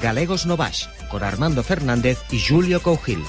Galegos no Baix, con Armando Fernández e Julio Cougil.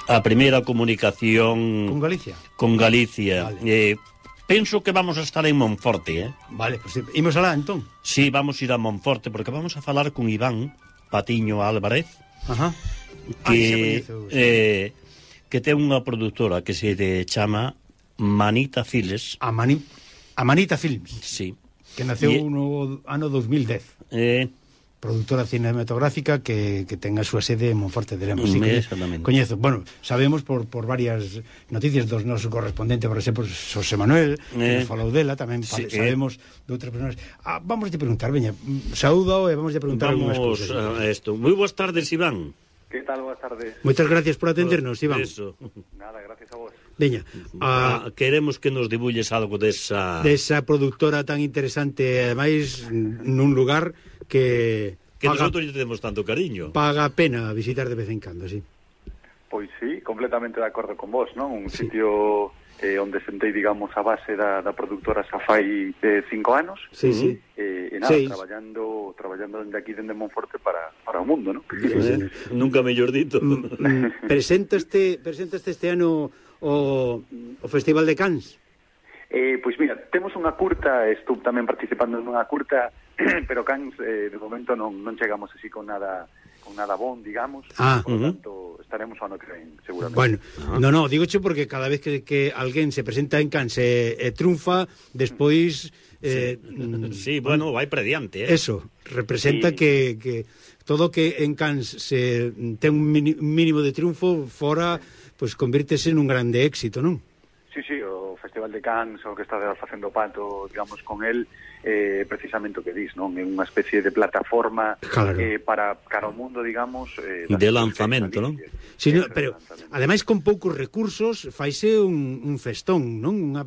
A primeira comunicación con Galicia. Vale. Penso que vamos a estar en Monforte, Vale, pues imos alá, entón. Sí, vamos a ir a Monforte, porque vamos a falar con Iván Patiño Álvarez, Ajá. que ten unha produtora que se chama Manita Files. A Manita Films. Sí. Que naceu no ano 2010. Productora cinematográfica que ten a súa sede en Monforte de Lemos. Sí, exactamente. Coñezo, bueno, sabemos por varias noticias dos nosos correspondentes, por exemplo, Xosé Manuel, que nos falou dela, tamén sabemos de outras persoas. Vamos a preguntar, veña, saúdo e vamos a preguntar algunhas cousas. Moi boas tardes, Iván. Que tal? Boas tardes. Moitas gracias por atendernos, Iván. Eso. Nada, gracias a vos. Veña, queremos que nos dibulles algo desa produtora tan interesante, ademais nun lugar que nosotros lle tenemos tanto cariño. Paga a pena visitar de vez en cando, sí. Pois sí, completamente de acordo con vos, non? Un sitio onde sentei, digamos, a base da productora xa fai 5 anos. Sí, sí. E nada, traballando dende aquí, dende Monforte para o mundo, non? Sí. Nunca mellor dito. Presentaste este ano o Festival de Cannes? Pois mira, temos unha curta, estou tamén participando nunha curta, pero Cannes de momento non chegamos así con nada bon, digamos. Por lo tanto, estaremos ao ano que ven, seguramente. Bueno, no, digoche porque cada vez que alguén se presenta en Cannes e triunfa, despois sí, bueno, vai prediante, Eso, representa que todo que en Cannes se ten un mínimo de triunfo, fora, pues convírtese nun grande éxito, non? Sí, o Festival de Cannes, o que está facendo pato, digamos, con el, precisamente o que dis, non? É unha especie de plataforma para cara ao mundo, digamos, de lanzamento, non? Sí, pero, ademais, con poucos recursos, faise un festón, non? Unha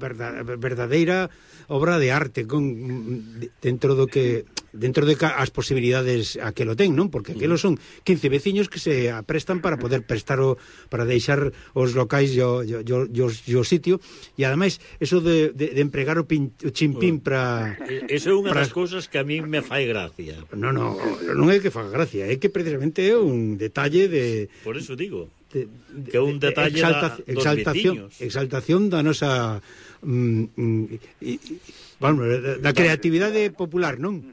verdadeira obra de arte, dentro de as posibilidades a que lo ten, non? Porque aquelos son 15 veciños que se aprestan para poder para deixar os locais e o sitio, e ademais eso de empregar o chimpín para... Eso é unha das cousas que a mí me fai gracia. Non é que faga gracia, é que precisamente é un detalle de... Por eso digo, que é un detalle dos veciños. Exaltación da nosa... da creatividade popular, non?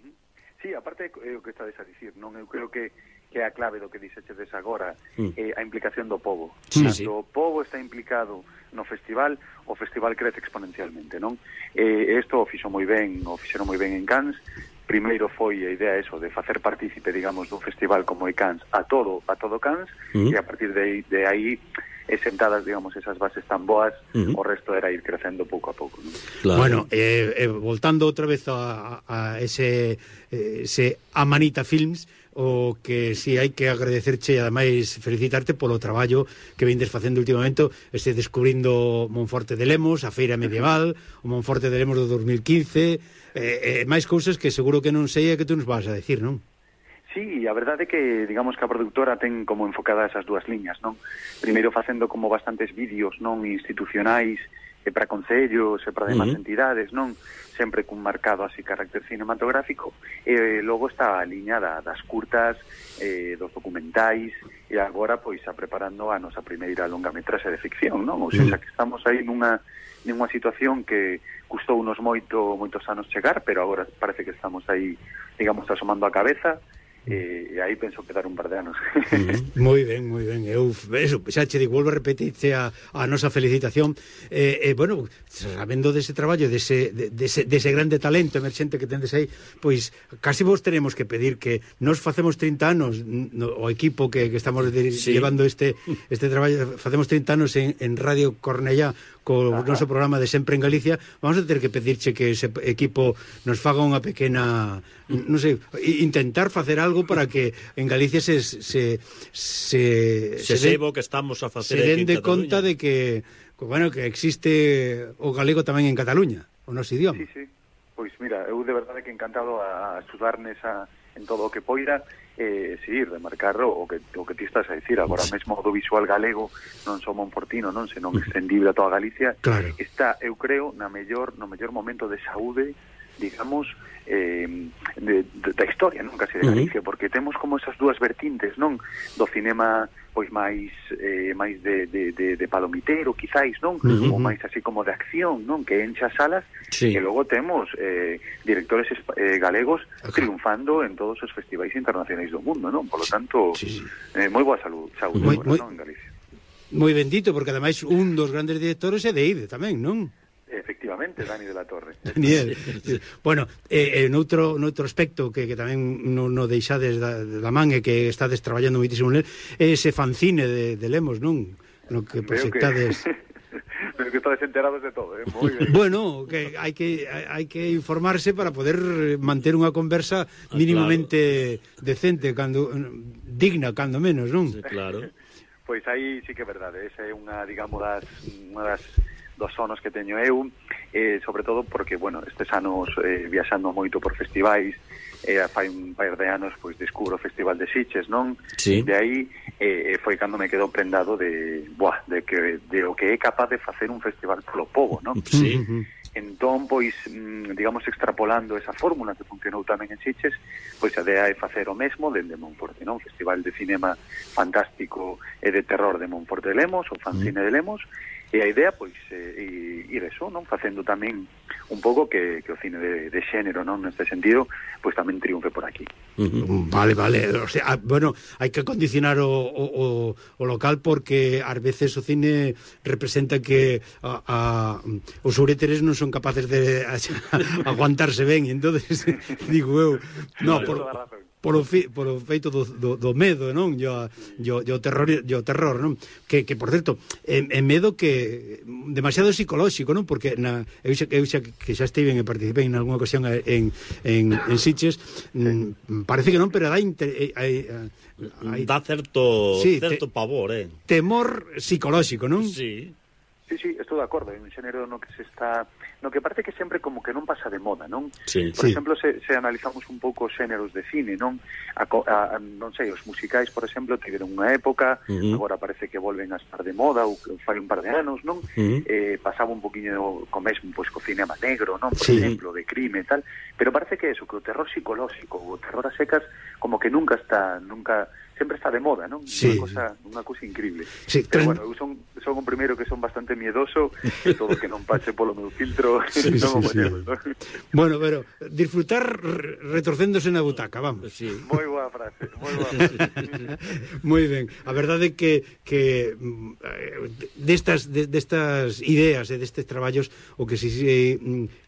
Sí, aparte o que estades a dicir, non? Eu creo que é a clave do que dixeches agora, a implicación do pobo. Cando o pobo está implicado no festival, o festival crece exponencialmente, non? Isto o fixeron moi ben en Cannes. Primeiro foi a idea de facer partícipe, digamos, do festival como é Cannes a todo Cannes, e a partir de aí sentadas, digamos, esas bases tan boas, o resto era ir crecendo pouco a pouco, non? Claro. Bueno, voltando outra vez a ese Manita Films, o que si hai que agradecerche e ademais felicitarte polo traballo que vendes facendo últimamente, descubrindo Monforte de Lemos, a feira medieval, o Monforte de Lemos do 2015, máis cousas que seguro que non sei e que tú nos vas a decir, non? Sí, a verdade é que, digamos, que a produtora ten como enfocadas esas dúas liñas, non? Primeiro facendo como bastantes vídeos, non, institucionais, e para concellos e para demais entidades, non? Sempre cun marcado así carácter cinematográfico, e logo está a liña das curtas, dos documentais, e agora pois a preparando a nosa primeira longametraxe de ficción, non? Ou seja, que estamos aí nunha situación que custou unos moitos anos chegar, pero agora parece que estamos aí, digamos, asomando a cabeza, e aí penso quedar un par de anos. Moi ben, eu eso, xa che digo, volvo a repetirte a nosa felicitación, bueno, sabendo dese traballo, dese grande talento emerxente que tendes aí, pois casi vos tenemos que pedir que nos facemos 30 anos, o equipo que estamos llevando este traballo, facemos 30 anos en Radio Cornellá co noso programa de Sempre en Galicia, vamos a ter que pedirche que ese equipo nos faga unha pequena, non sei, intentar facer algo para que en Galicia se sebo que estamos a facer se den de conta de que, bueno, que existe o galego tamén en Cataluña, o noso idioma. Sí. Pois mira, eu de verdade que encantado a estudar en todo o que poida, seguir, remarcar o que ti estás a dicir. Agora mesmo o audiovisual galego non só monfortino, non, senón extendible a toda Galicia, claro. Está, eu creo, no mellor momento de saúde, digamos, da historia, non, casi de Galicia, porque temos como esas dúas vertintes, non, do cinema pois máis de palomitero, quizáis, non, ou máis así como de acción, non, que encha salas, e logo temos directores galegos triunfando en todos os festivais internacionais do mundo, non, polo tanto, moi boa saúde non, en Galicia. Moi bendito, porque ademais un dos grandes directores é de IDE tamén, non? Efectivamente, Dani de la Torre. Daniel. Bueno, noutro aspecto que tamén non deixades da man e que estades traballando moitísimo nel, é ese fanzine de Lemos, non? No que proxectades... Pero que estades enterados de todo, moi ben. Bueno, que hai que informarse para poder manter unha conversa mínimamente decente, digna, cando menos, non? Sí, claro. Pois aí sí que é verdade, esa é unha, digamos, unha das dos sonos que teño eu, sobre todo porque, bueno, estes anos viaxando moito por festivais, fai un par de anos pois descubro o Festival de Sitges, non? Sí. De aí foi cando me quedou prendado de o que é capaz de facer un festival polo pobo, non? Sí. Entón, pois, digamos, extrapolando esa fórmula que funcionou tamén en Sitges, pois a idea é facer o mesmo dende Monforte, non? Festival de cinema fantástico e de terror de Monforte de Lemos, o fanzine de Lemos, e a idea, pois, ir eso, non? Facendo tamén un pouco que o cine de xénero, non? Neste sentido, pois tamén triunfe por aquí. Vale, o sea, bueno, hai que condicionar o local porque ás veces o cine representa que os uréteres non son capaces de aguantarse ben, e entonces digo eu, no, polo feito do medo, non? O terror, non? Que por certo, é medo que demasiado psicolóxico, non? Porque eu xa que xa estive e participei en algunha ocasión en Sitges, parece que non, pero dá certo pavor, temor psicolóxico, non? Sí, estou de acordo, é un xénero no que se está, no que parece que sempre como que non pasa de moda, non? Sí. Por exemplo, se analizamos un pouco os xéneros de cine, non? Non sei, os musicais, por exemplo, tiveron unha época, agora parece que volven a estar de moda, ou fai un par de anos, non? Pasaba un poquinho co mesmo, pois, co cinema negro, non? Por exemplo, de crime e tal, pero parece que eso, que o terror psicolóxico, o terror a secas, como que nunca sempre está de moda, non? Sí. Unha cousa increíble. Sí, pero bueno, eu son o primeiro que son bastante miedoso, e todo que non pase polo meu filtro, non o ponemos, non? Bueno, pero disfrutar retorcéndose na butaca, vamos. Sí. Moi boa frase. Moi ben. A verdade é que destas ideas e destes traballos o que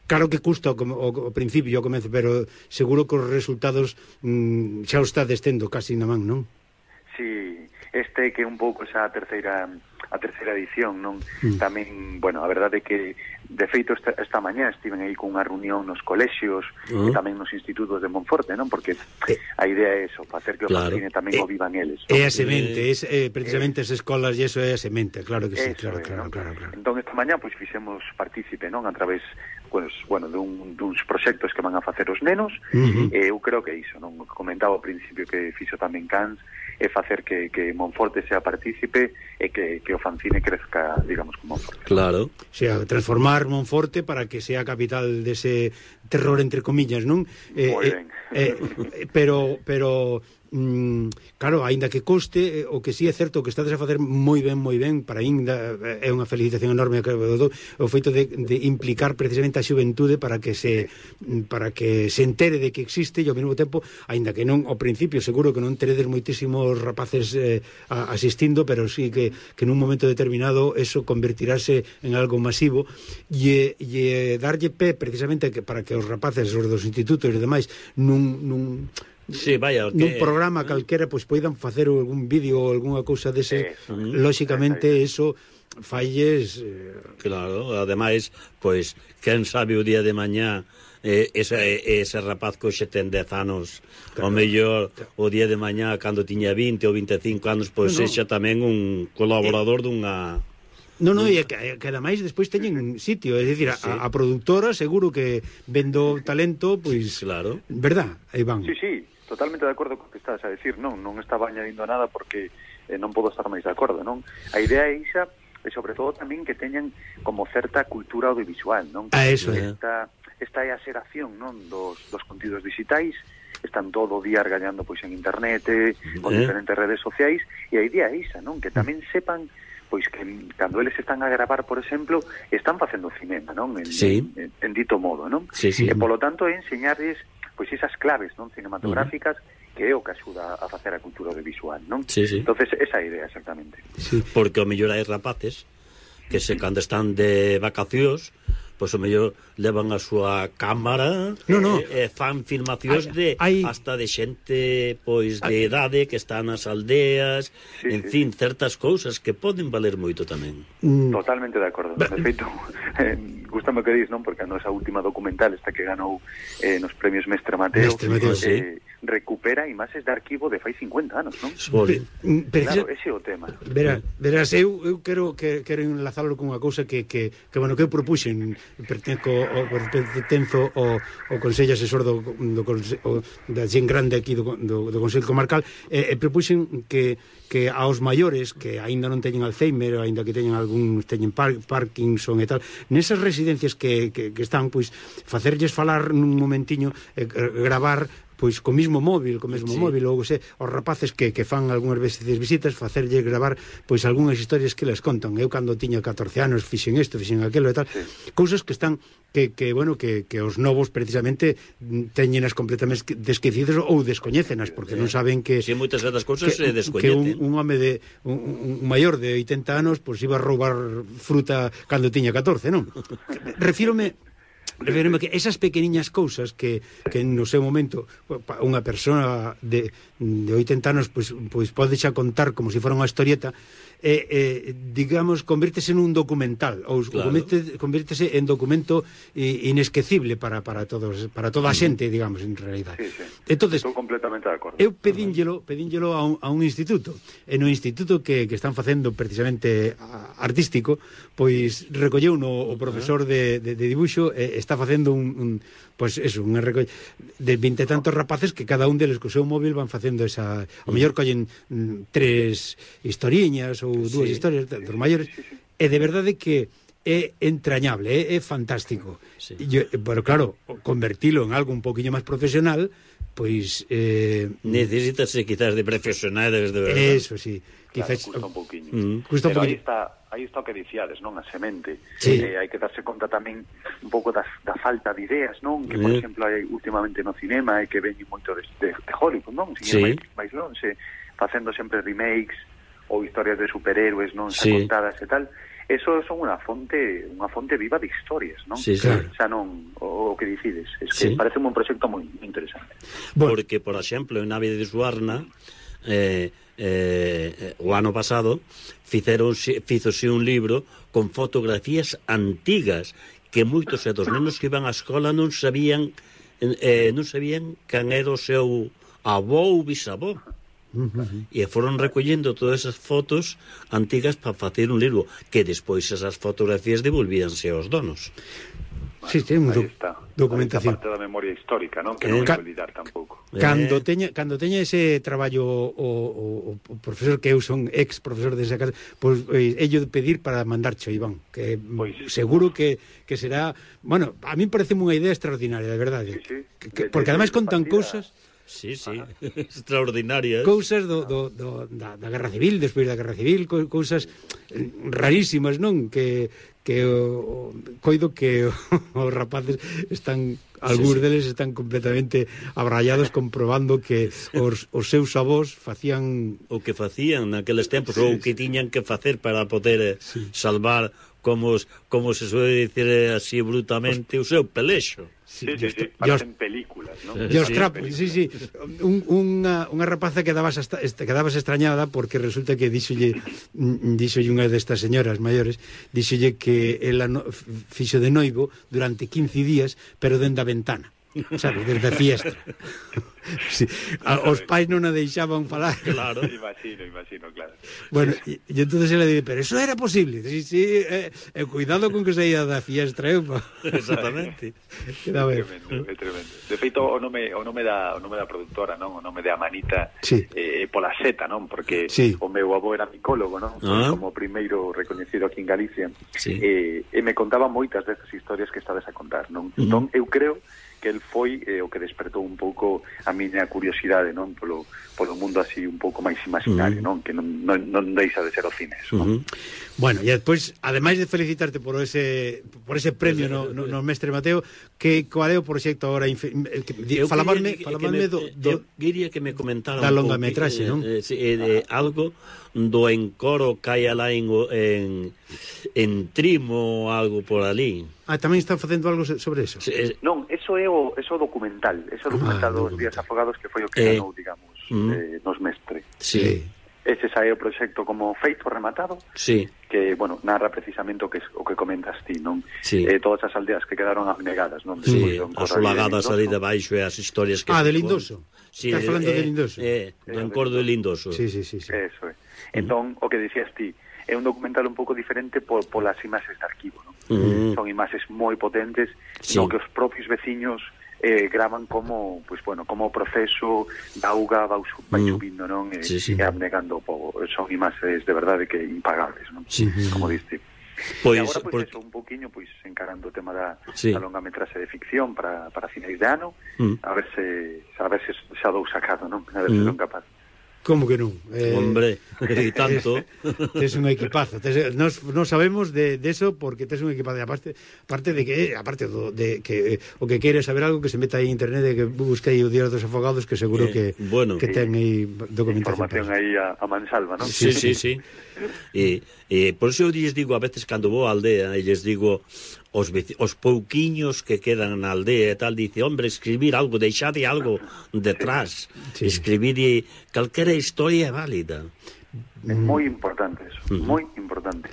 claro que custa ao principio, ao comezo, pero seguro que os resultados xa o está tendo casi na man, non? Sí, que un pouco esa terceira edición, non? Tamén, bueno, a verdade é que de feito esta mañá estiven aí con unha reunión nos colexios e tamén nos institutos de Monforte, non? Porque a idea é eso, facer que o fanzine tamén o vivan eles, non? É a semente, precisamente as escolas e eso é a semente, claro que sí, claro. Entón esta mañá pois fixemos partícipe, non? A través pues, bueno, duns proxectos que van a facer os nenos, eu creo que iso, non? Comentaba ao principio que fixo tamén Cans, é facer que Monforte sea partícipe e que o fanzine crezca, digamos, como Monforte. Claro. O sea, transformar Monforte para que sea capital dese terror, entre comillas, non? Moi ben. Pero claro, aínda que coste, o que sí é certo que estades a facer moi ben, para ainda é unha felicitación enorme o feito de implicar precisamente a xuventude para que se entere de que existe, e ao mesmo tempo, aínda que non ao principio seguro que non teredes moitísimos rapaces asistindo, pero sí que nun momento determinado eso convertirase en algo masivo e darlle pé precisamente para que os rapaces, os dos institutos e demais nun programa calquera pois poidan facer algún vídeo ou algunha cousa dese, lóxicamente eso falles claro, ademais pois quen sabe o día de mañá ese rapaz que hoxe ten 10 anos o mellor o día de mañá cando tiña 20 ou 25 anos pois sexa tamén un colaborador dunha e que ademais despois teñen sitio, é dicir, a productora seguro que vendo talento, pois claro, verdad, aí van. Sí, totalmente de acordo co que estás a decir, non estaba añadindo nada porque non podo estar máis de acordo, non? A idea é ixa, e sobre todo tamén que teñan como certa cultura audiovisual, non? Eso é. Esta é a xeración, non, dos contidos digitais, están todo o día argallando pois en internet, con diferentes redes sociais, e a idea é ixa, non? Que tamén sepan pois que cando eles están a gravar, por exemplo, están facendo cinema, non? En dito modo, non? E polo tanto é enseñarles pois esas claves, non, cinematográficas, que é o que axuda a facer a cultura audiovisual, non? Entonces, esa idea exactamente. Porque o mellor hai rapaces que cando están de vacacións pois o mellor levan a súa cámara e fan filmacións hasta de xente pois de idade que está nas aldeas, en fin, certas cousas que poden valer moito tamén. Totalmente de acordo. De feito, gustame o que dis, non? Porque a nosa última documental, esta que ganou nos premios Mestre Mateo, recupera imaxes de arquivo de fai 50 anos, non? Claro, ese é o tema. Verás, eu quero enlazarlo con unha cousa que eu propuxen, pertenzo ao Consello Asesor da Xen Grande aquí do Consello Comarcal, e propuxen que aos maiores que aínda non teñen Alzheimer, aínda que teñen Parkinson e tal, nesas residencias que están, pois, facerlles falar nun momentiño, gravar pois co mesmo móvil, ou os rapaces que fan algunhas veces visitas, facerlle gravar pois algunhas historias que les contan. Eu cando tiña 14 anos fixen isto, fixen aquilo e tal, cousas que están que os novos precisamente teñenas completamente desquecidas ou descoñécenas, porque non saben que moitas das cousas se descoñecen. Que un home de un maior de 80 anos pois iba a roubar fruta cando tiña 14, non? Refírome que esas pequeniñas cousas que no seu momento unha persona de 80 anos pois pode xa contar como se fora unha historieta, digamos, convírtese nun documental ou convírtese en documento inesquecible para toda a xente, digamos, en realidade. Entonces, estou completamente de acordo. Eu pedínllelo a un instituto, e no instituto que están facendo precisamente artístico, pois recolleu o profesor de dibuixo, está facendo pois eso, unha recolle de 20 e tantos rapaces que cada un deles co seu móvil van facendo esa, o mellor collen 3 historiñas ou 2 historias dos maiores, e de verdade que é entrañable, é fantástico. Pero claro, convertilo en algo un poquinho máis profesional, pois necesítase quizás de profesionales de verdade. Eso sí, quizás custa un pouquiño. Pero aí está o que dicíades, non? A semente. Hai que darse conta tamén un pouco da falta de ideas, non? Que, por exemplo, hai últimamente no cinema e que veñen moito de Hollywood, non? Mais lonxe, facendo sempre remakes ou historias de superhéroes, non? Xa contadas e tal. Eso son unha fonte viva de historias, non? Xa non o que dicides. Es que parece un proxecto moi interesante. Porque, por exemplo, en Nave de Suarna, o ano pasado fízose un libro con fotografías antigas que moitos dos nenos que iban á escola non sabían quen era o seu avó ou bisavó, e foron recollendo todas esas fotos antigas para facer un libro que despois esas fotografías devolvíanse aos donos. Sí, ten documentación. Parte da memoria histórica, non? Que non hai que olvidar tampouco. Cando teña ese traballo o profesor que eu son ex profesor desa casa, pois ello de pedir para mandarcho, Iván, que seguro que será, bueno, a mí parece unha idea extraordinaria, de verdade. Porque ademais contan cousas Sí, extraordinarias. Cousas da Guerra Civil, despois da Guerra Civil, cousas rarísimas, non? Que coido que os rapaces están, algúns deles están completamente abrallados comprobando que os seus avós facían o que facían naqueles tempos, ou o que tiñan que facer para poder salvar, como se suele dicir así brutamente, o seu pelexo. Sí, parecen películas, ¿no? Os trapos, sí. Unha rapaza quedabas extrañada porque resulta que díxolle unha destas señoras maiores, díxolle que ela fixo de noivo durante 15 días, pero dende a ventana, sabes, desde a fiestra. Sí. Os pais non a deixaban falar. Claro, imagino, claro. Bueno, e entonces ela dice, pero eso era posible. Sí, cuidado con que saía da fiestra, Exactamente. É tremendo. De feito, o nome da produtora, non? O nome de Amanita, pola seta, non? Porque o meu avó era micólogo, non? Como primeiro recoñecido aquí en Galicia. E me contaba moitas destas historias que estades a contar, non? Entón, eu creo que el foi o que despertou un pouco a miña curiosidade, non, polo mundo así un pouco máis imaginario, non, que non deixa de ser o cine, non? Bueno, e despois, ademais de felicitarte por ese premio no Mestre Mateo, que cual é o proxecto agora? Falabanme quería que me comentara da longametraxe, non? Algo do encoro que hai alá en Trimo ou algo por ali. Tamén están facendo algo sobre eso? Non, eso é o documental, dos Días Afogados, que foi o que ganou, digamos, nos Mestre. Sí. Ese sae o proxecto como feito, rematado, que, bueno, narra precisamente o que comentas ti, non? Todas as aldeas que quedaron abnegadas, non? Asolagadas ali debaixo e as historias que... de Lindoso. Estás falando de Lindoso. Do encordo de Lindoso. Sí. Eso é. Entón, o que dicías ti, é un documental un pouco diferente polas imaxes de arquivo, non? Son imaxes moi potentes, no que os propios veciños gravan como, pues bueno, como o proceso da auga vai subindo, non? E abnegando o pobo. Son imaxes de verdade que impagables, non? Como diste. E agora, pues, eso, un poquinho, pues, encarando o tema da longametraxe de ficción para finais de ano, a ver se xa dou sacado, non? A ver se son capaz. Como que non? Hombre, e tanto. Tes un equipazo. Non sabemos de eso porque tes un equipazo. Aparte de que o que quere saber algo, que se meta aí en internet e que busque aí o Día dos Afogados, que seguro que ten aí documentación. Información aí a mansalva, non? Sí. E por iso eu lles digo a veces cando vou á aldea e lles digo os pouquiños que quedan na aldea e tal, dice, hombre, escribir algo, deixade algo detrás, escribir calquera historia é válida. É moi importante eso, moi importante.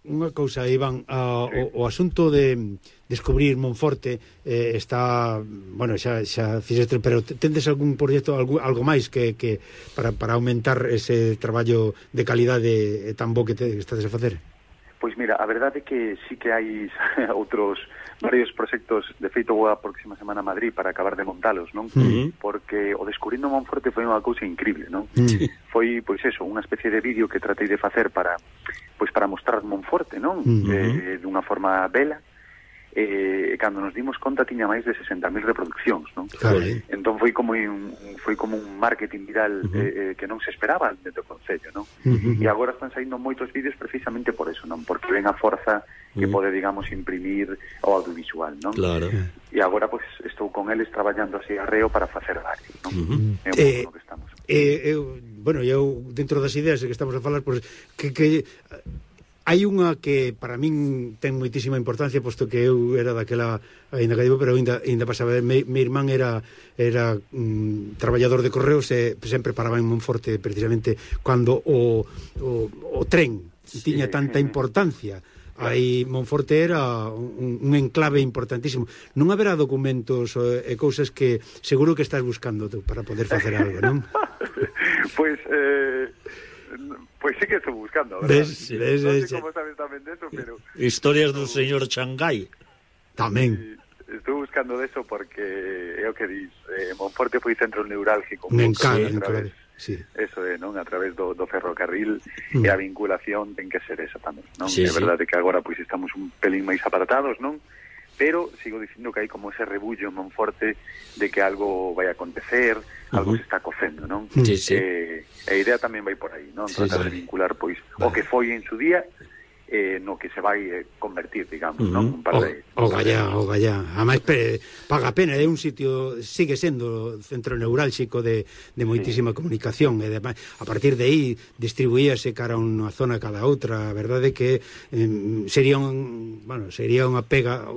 Unha cousa, Iván, o asunto de descubrir Monforte está, bueno, xa fixeste, pero tendes algún proxecto, algo máis que para aumentar ese traballo de calidade tan bo que estades a facer? Pois mira, a verdade é que sí que hai outros varios proxectos. De feito, vou a próxima semana a Madrid para acabar de montalos, non? Porque o Descubrindo Monforte foi unha cousa increíble, non? Foi, pois eso, unha especie de vídeo que tratei de facer para mostrar Monforte, non? Dunha forma bela. Cando nos dimos conta tiña máis de 60.000 reproduccións, non? Entón foi como un marketing viral que non se esperaba dentro do Concello, non? E agora están saindo moitos vídeos precisamente por eso, non? Porque ven a forza que pode, digamos, imprimir o audiovisual, non? Claro. E agora, pois, estou con eles traballando así arreo para facer varios, non? É un pouco no que estamos. Bueno, eu dentro das ideas que estamos a falar, pois, que hai unha que para min ten moitísima importancia, posto que eu era daquela, ainda que digo, pero ainda pasaba, meu irmán era traballador de correos e sempre paraba en Monforte precisamente cando o tren tiña tanta importancia. Aí Monforte era un enclave importantísimo. Non haberá documentos e cousas que seguro que estás buscando tú para poder facer algo, non? Pois sí que estou buscando, verdad? Non sei como sabes tamén deso, pero... Historias do señor Changai. Tamén. Estou buscando deso porque é o que dis, Monforte foi centro neurálgico. Me encanta, eso é, non? A través do ferrocarril, e a vinculación ten que ser esa tamén, non? É verdade que agora pois estamos un pelín máis apartados, non? pero sigo dicindo que hai como ese rebullo en Monforte de que algo vai a acontecer, algo se está cocendo, non? Sí, sí. A idea tamén vai por aí, non? Tratar de vincular, pois, o que foi en su día no que se vai convertir, digamos, non? O gallá. Además, paga pena, é un sitio, sigue sendo centro neurálxico de moitísima comunicación, e además, a partir de aí distribuíase cara a unha zona cada outra. A verdade é que sería unha pena,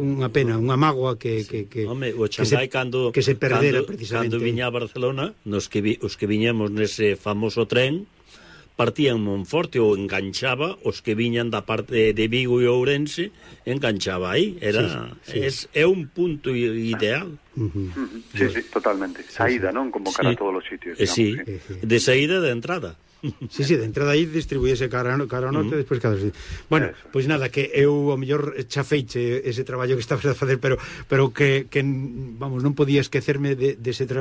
unha mágoa que Home, o Xangai que se perdera precisamente. Cando viña a Barcelona, os que viñamos nese famoso tren, partían Monforte ou enganchaba os que viñan da parte de Vigo e Ourense, enganchaba aí. É un punto ideal. Sí, totalmente. Saída, non? Como cara a todos os sitios. Sí, de saída e de entrada. Sí, de entrada aí distribuíese cara ao norte, despois cada sitio. Bueno, pois nada, que eu ao mellor chafeiche ese traballo que estabas a facer, pero que vamos, non podía esquecerme dese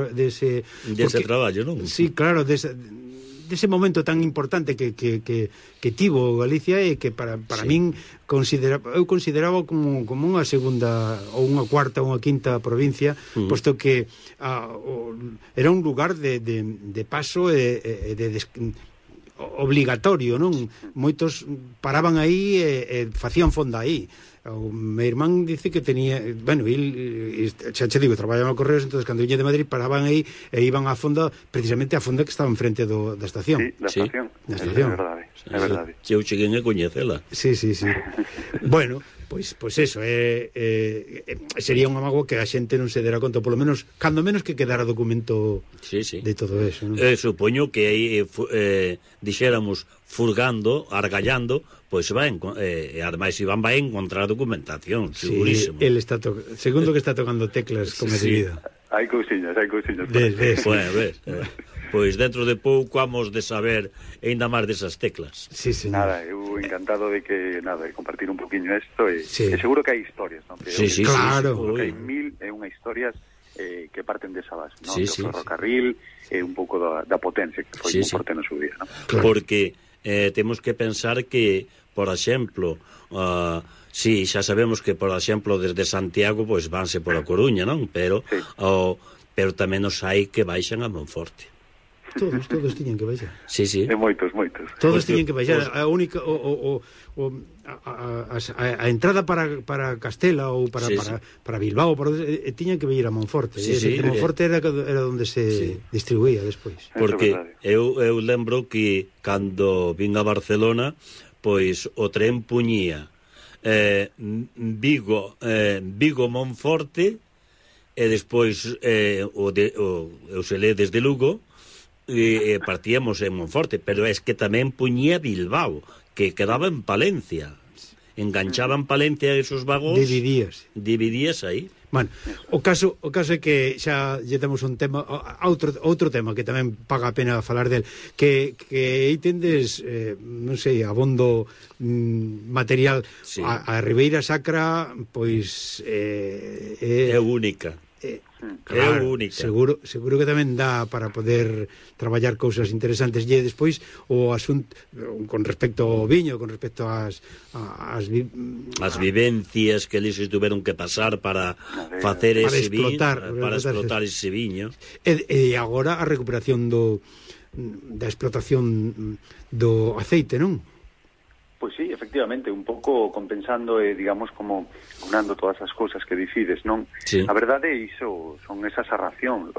traballo, non? Sí, claro, dese momento tan importante que tivo Galicia, e que para min eu consideraba como unha segunda ou unha cuarta ou unha quinta provincia, posto que era un lugar de paso e de obligatorio, non? Moitos paraban aí e facían fonda aí. O meu irmán dice que tenía, bueno, xa che digo, traballaba no Correos, entonces cando viña de Madrid paraban aí e iban á fonda, precisamente á fonda que estaba enfrente da estación. Sí, da estación. É verdade. Eu cheguei a coñecela. Sí. Bueno, pois eso, sería unha mágoa que a xente non se dera conta, polo menos, cando menos que quedara documento de todo eso, non? Supoño que aí dixéramos furgando, argallando, pois ademais Iván vai encontrar documentación, segurísimo. Sí, segundo que está tocando teclas como de vida. Hai cousiñas. Pois dentro de pouco vamos de saber ainda máis desas teclas. Sí. Nada, eu encantado de compartir un poquinho isto, e seguro que hai historias, non? Sí, claro. Seguro que hai mil e unha historias que parten desa base, non? O ferrocarril e un pouco da potencia que foi Monforte no seu día, non? Claro. Porque temos que pensar que, por exemplo, xa sabemos que, por exemplo, desde Santiago pois vanse por a Coruña, non? Pero tamén os hai que baixan a Monforte. Todos tiñen que baixar. Sí. E moitos. Todos tiñen que baixar. A única a entrada para Castela ou para Bilbao, tiñan que vir a Monforte. Monforte era onde se distribuía despois. Porque eu lembro que cando vin a Barcelona, pois o tren puñía Vigo Monforte, e despois o Selé desde Lugo, e partíamos en Monforte, pero é que tamén puñía Bilbao, que quedaba en Palencia, enganchaban Palencia a esos vagóns, dividías aí. Bueno, o caso é que xa lle temos un tema, outro tema que tamén paga a pena falar del, que aí tendes, non sei, abondo material. A Ribeira Sacra, pois é única. Claro, única. Seguro que tamén dá para poder traballar cousas interesantes. E despois o asunto con respecto ao viño, con respecto ás vivencias que eles tuveron que pasar para facer ese viño, para explotar ese viño. E agora a recuperación da explotación do aceite, non? Pois sí, efectivamente, un pouco compensando e, digamos, como unando todas as cousas que dicides, non? Sí. A verdade é iso, son esas razóns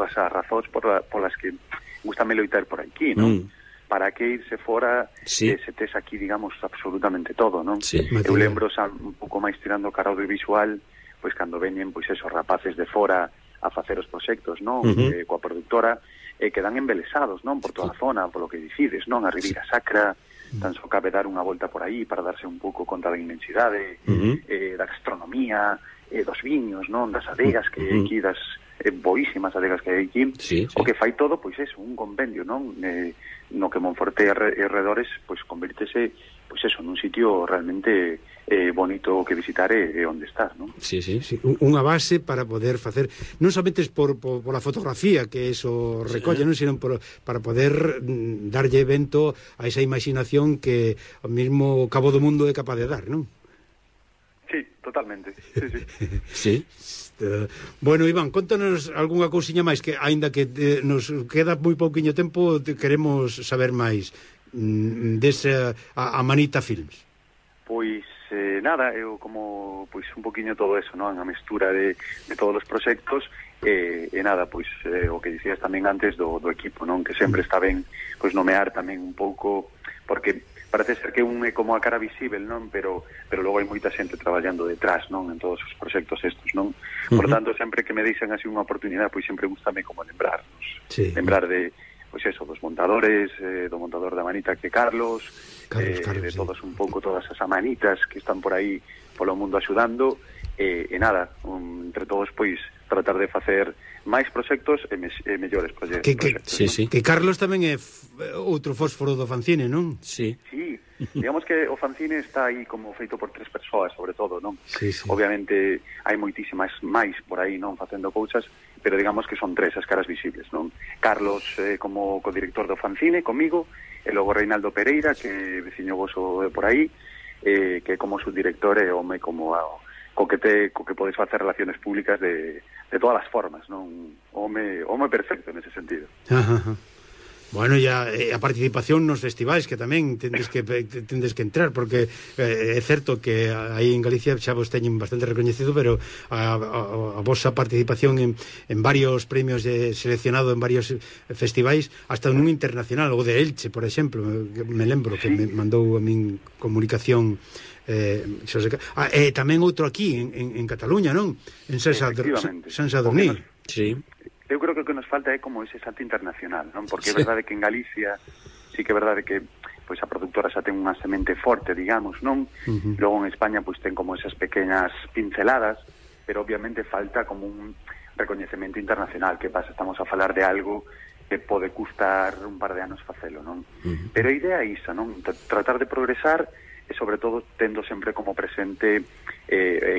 polas que gustame loitar por aquí, non? Para que irse fora se tes aquí, digamos, absolutamente todo, non? Sí. Eu lembro un pouco máis tirando cara audiovisual, pois cando veñen pois esos rapaces de fora a facer os proxectos, non? Coa produtora, que dan embelesados, non? Por toda a zona, polo que dicides, non? A Ribeira Sacra, tan só cabe dar unha volta por aí para darse un pouco conta da inmensidade, da gastronomía, dos viños, non? Das adegas que hai aquí, das boísimas adegas que hai aquí, o que fai todo, pois é un compendio, non? No que Monforte e arredores, pois convírtese, pois eso, nun sitio realmente bonito que visitar e onde estás, non? Sí. Unha base para poder facer, non somente por a fotografía que eso recolle, non, sino para poder darlle evento a esa imaginación que o mismo Cabo do Mundo é capaz de dar, non? Sí, totalmente. Sí. Bueno, Iván, contanos algunha cousiña máis que, aínda que nos queda moi pouquiño tempo, queremos saber máis desa a Manita Films. Pois nada, eu como pois un poquinho todo eso, non? A mestura de todos os proxectos e nada, pois o que dicías tamén antes do equipo, non? Que sempre está ben pois nomear tamén un pouco, porque parece ser que un é como a cara visível, non? Pero logo hai moita xente traballando detrás, non? En todos os proxectos estos, non? Por tanto, sempre que me deixan así unha oportunidade, pois sempre gustame como lembrarnos. Sí. Lembrar de, pois eso, dos montadores, do montador da Manita que Carlos, de todos un pouco, todas as amanitas que están por aí polo mundo axudando, e nada, entre todos, pois, tratar de facer máis proxectos e mellores proxectos. Que Carlos tamén é outro fósforo do fanzine, non? Sí, digamos que o fanzine está aí como feito por 3 persoas, sobre todo, non? Obviamente hai moitísimas máis por aí, non, facendo cousas, pero digamos que son 3 as caras visibles, non? Carlos como codirector do fanzine, comigo, e logo Reinaldo Pereira, que veciño voso por aí, que como subdirector e home como co que podes facer relaciones públicas de todas as formas, non? Home perfecto nese sentido. Bueno, ya a participación nos festivais, que tamén tendes que entrar, porque é certo que aí en Galicia xa vos teñen bastante recoñecido, pero a vosa participación en varios premios seleccionado en varios festivais, hasta nun internacional, o de Elche, por exemplo, me lembro que me mandou a min comunicación tamén outro aquí en Cataluña, non? En San Sadurní. Sí. Eu creo que o que nos falta é como ese salto internacional, non? Porque é verdade que en Galicia sí que é verdade que pois a productora xa ten unha semente forte, digamos, non? Logo en España pois ten como esas pequeñas pinceladas, pero obviamente falta como un recoñecemento internacional. Que pasa? Estamos a falar de algo que pode custar un par de anos facelo, non? Pero a idea é isa, non? Tratar de progresar e sobre todo tendo sempre como presente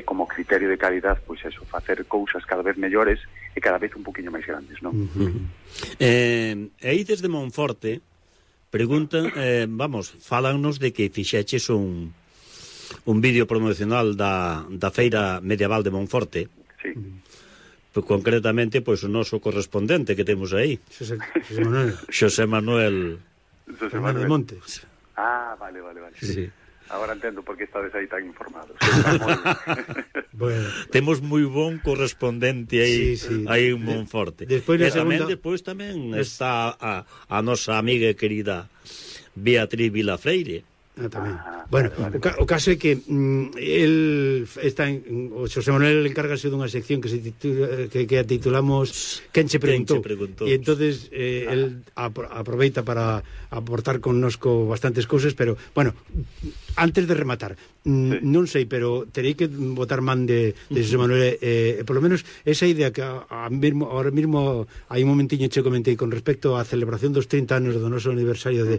como criterio de calidad, pois eso, facer cousas cada vez mellores e cada vez un poquinho máis grandes, non? E aí desde Monforte preguntan, fálannos de que fixeches un vídeo promocional da Feira Medieval de Monforte. Sí. Concretamente, pois o noso correspondente que temos aí, Xosé Manuel de Montes. Ah, vale. Sí. Agora entendo por que estades aí tan informados. Bueno, temos moi bon correspondente aí, aí en Monforte. Despois tamén está a nosa amiga e querida Beatriz Vilafreire. Tamén. Bueno, o caso é que el está o Xosé Manuel encárgase dunha sección que se titula, que titulamos Quen che preguntou, e entonces el aproveita para aportar connosco bastantes cousas, pero bueno, antes de rematar, non sei, pero terei que botar man de Xosé Manuel, por lo menos esa idea que ahora mismo hai un momentiño che comentei con respecto á celebración dos 30 anos do noso aniversario de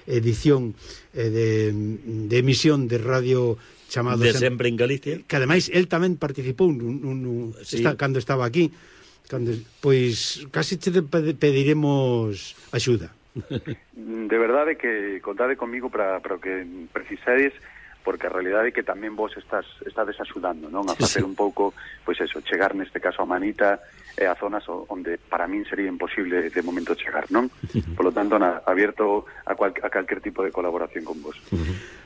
edición de emisión de radio chamado de Sempre en Galicia, que ademais el tamén participou cando estaba aquí, pois casi te pediremos axuda. De verdade que contade comigo para o que precisades, porque a realidade é que tamén vos estades axudando, non? A facer un pouco, pois eso, chegar neste caso a Manita e a zonas onde para min sería imposible de momento chegar, non? Por lo tanto, abierto a calquer tipo de colaboración con vos.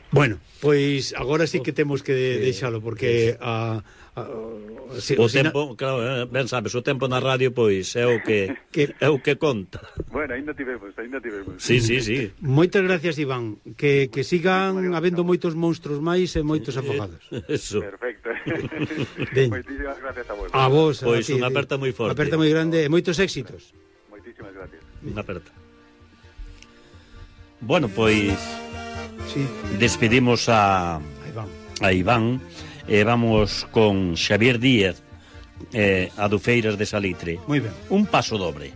Bueno, pois agora sí que temos que deixalo, porque o tempo, claro, ben sabes, o tempo na radio pois é o que conta. Bueno, ainda tivemos. Sí. Moitas gracias, Iván, que sigan habendo moitos monstruos máis e moitos afogados. Eso. Perfecto. Moitísimas gracias a vos. A vos, pois unha aperta moi forte. Unha aperta moi grande e moitos éxitos. Moitísimas gracias. Unha aperta. Bueno, pois despedimos a Iván. Vamos con Xavier Díaz, Adufeiras de Salitre. Moi ben. Un paso dobre.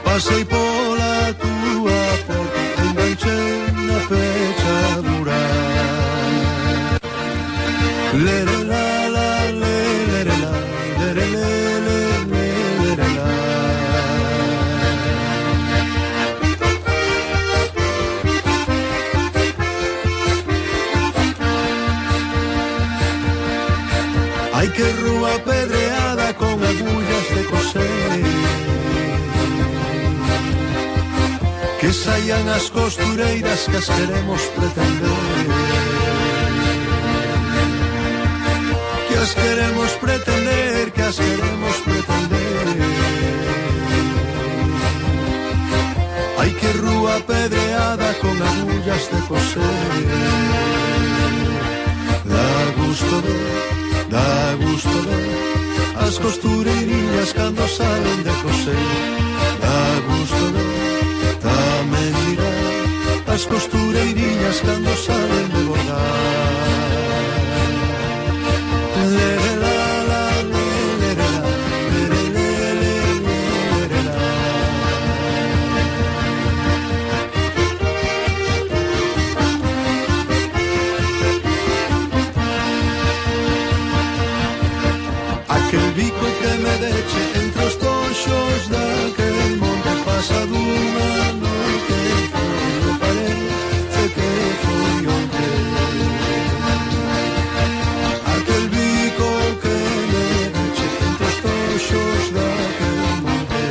Pasei pola túa porta, enganchei na pechadura. Lere la la, lere la, lere le, lere la. que rúa pedreada con agullas de coser, que saian as costureiras que as queremos pretender, que as queremos pretender, que as queremos pretender. Ai que rúa pedreada con agullas de coser, dá gusto ver as costureirinhas cando salen de coser, dá gusto ver tamén mirar as costureirinhas cando salen de bordar. Aquel bico que me deche entre os tonxos daquel monte pasa dunha noite, foi, parece que foi onte. Aquel bico que me deche entre os tonxos daquel monte.